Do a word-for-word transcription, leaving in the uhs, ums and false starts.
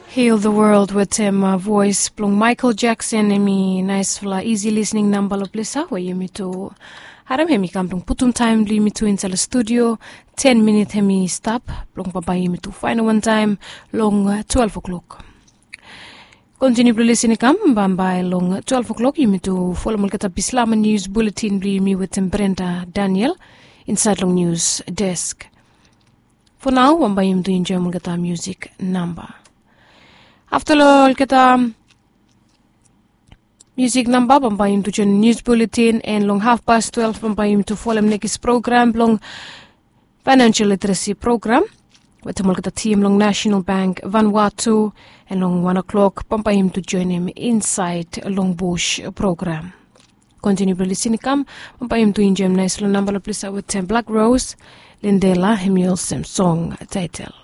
Heal the World wetem voes blong Michael Jackson, em i naispela isi lisning namba long ples ya we yumi tu harim. Em i kam blong putum taem blong yumi tu insait long studio. Ten minit em i stap blong bambae yumi tu faenem wantaem long twelve o'clock. Kontiniu blong lisin i kam bambae long twelve o'clock, yumi tu folem olgeta bislama nius buletin blong yumi wetem Brenda Daniel insait long nius desk. Fo nao bambae yumi tu enjoem olgeta musik namba. Afta long olgeta musik namba bambae yumi tu joen nius buletin, en long hafpas twelve bambae yumi tu folem nekis program blong faenansial literesi program wetem olgeta tim long Nasenal Bank Vanuatu. En long wan o'klok bambae yumi tu joenem Insait Long Bus program. Kontiniu blong lisin i kam bambae yumi tu enjoem naispela namba long ples ya wetem Black Rose, Lindela, em i olsem song taetel.